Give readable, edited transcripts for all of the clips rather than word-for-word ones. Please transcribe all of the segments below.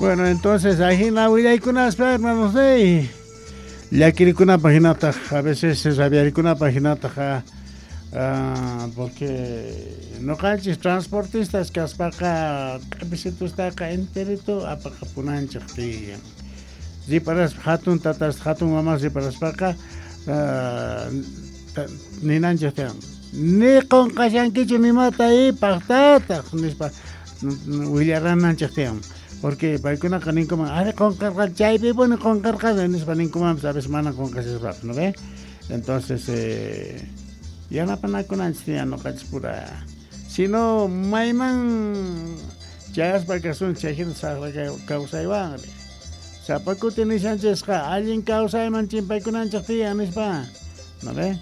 Bueno, entonces ajina willaykunaspa, hermanos, ey, llakirikunapaj hinataq, a veces rabiarikunapaj hinataq, porque noqanchis transportistas kaspaqa q'episitustaqa enterito apaqapunanchej tiyan. Riparaspa hatun tatas, hatun mamas riparaspaqa ninanchej tiyan. Ni qonqashankichu nimata y pajtataq nispa willarananchej tiyan. Porque paykunaqa ninkuman, ari qonqarqa chaypipuni qonqarqani nispa ninkumanpis, a veces mana qonqashaspapas, ¿no ve? Entonces, yanapanakunanchis tiyan noqanchis pura. Si no, mayman chayaspa kasun chay hina saqra kawsaywanri. Sapa kuti nishanchisqa allin kawsayman chimpaykunanchej tiyan nispa, ¿no ve?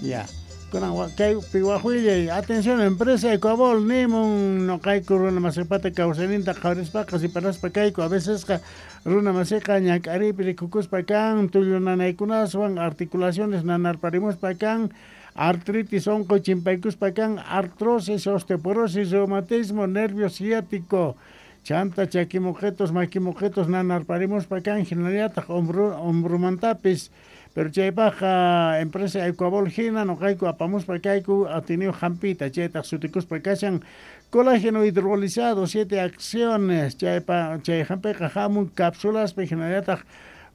Ya. Kunan kaypi waj willay, atención empresa Ecuabol nimun noqayku runa masipata kawsayninta qhawarispaqa riparaspa kayku, a vecesqa runa masiqa ñak'ariypi rikukuspa kan, tullu nanaykunaswan, articulaciones nanarparimuspa kan, artritis onqoy chimpaykuspa kan, artrosis, osteoporosis, reumatismo, nervio ciático, chanta chakimuqetos, makimuqetos nanarparimuspa kan, hinallataq hombromantapis. Pero chaypajqa empresa Ecuabol hina noqayku apamuspa kayku atiniyuq hampita, chaytaq sutikuspa kashan colágeno hidrolizado, 7 acciones, chaypa chay hampiqa hamun cápsulaspi hinallataq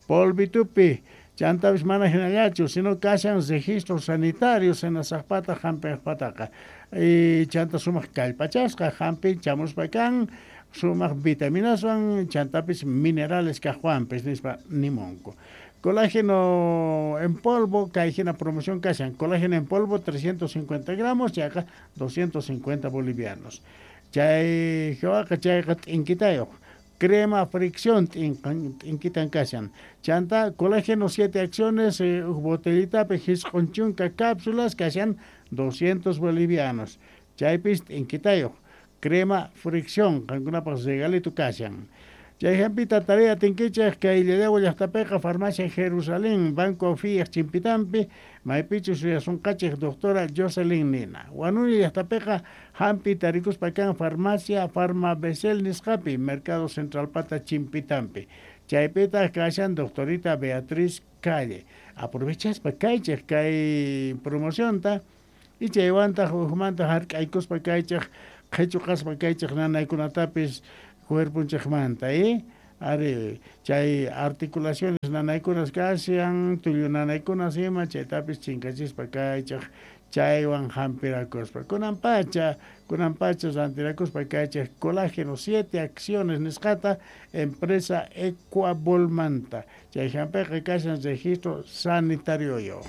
polvitupi, chantapis mana hinallachu, sino kashan registro sanitario senasaqpata hampiqpataqa. Y chanta sumaq kallpachasqa hampi chamuspa kan, sumaq vitaminaswan, chantapis minerales kaqwanpis nispa nimunku. Colágeno en polvo, kay hina promoción kashan, colágeno en polvo 350 gramos, chayqa 250 bolivianos. Chay jewaqa chayqa t'inkitayuq, crema fricción t'inkitan kashan. Chanta colágeno 7 acciones, uj botellitapi jisq'un chunka cápsulas kashan 200 bolivianos. Chaypis t'inkitayuq, crema fricción, qankunapaq regalito kashan. Chay hampita tarea tinkichej kay Llallagua llaqtapiqa farmacia Jerusalén, Banco Fiat Chimpitampi, maypichus suyasunqachej doctora Jocelyn Nina. Huanuni llaqtapiqa hampi tarikuspa kan farmacia Farma Besel nisqapi, Mercado Central Pata Chimpitampi. Chaypitaq kashan doctorita Beatriz Calle. Aprovechaspa kaychej kay promocionta y chaywantaq ujmanta hark'aykuspa kaychej qhichuqaspa kaychej nanaykunatapis cuerponchejmanta, Ari, chay articulaciones nanaykunas kashan, tullu nanaykunas ima, chaytapis chinkachispa kaychej, chaywan hampirakuspa. Kunan pacha rantirakuspa kaychej colágeno 7 acciones nisqata empresa Ecuabolmanta. Chay hampiqa kashan registro sanitario yo.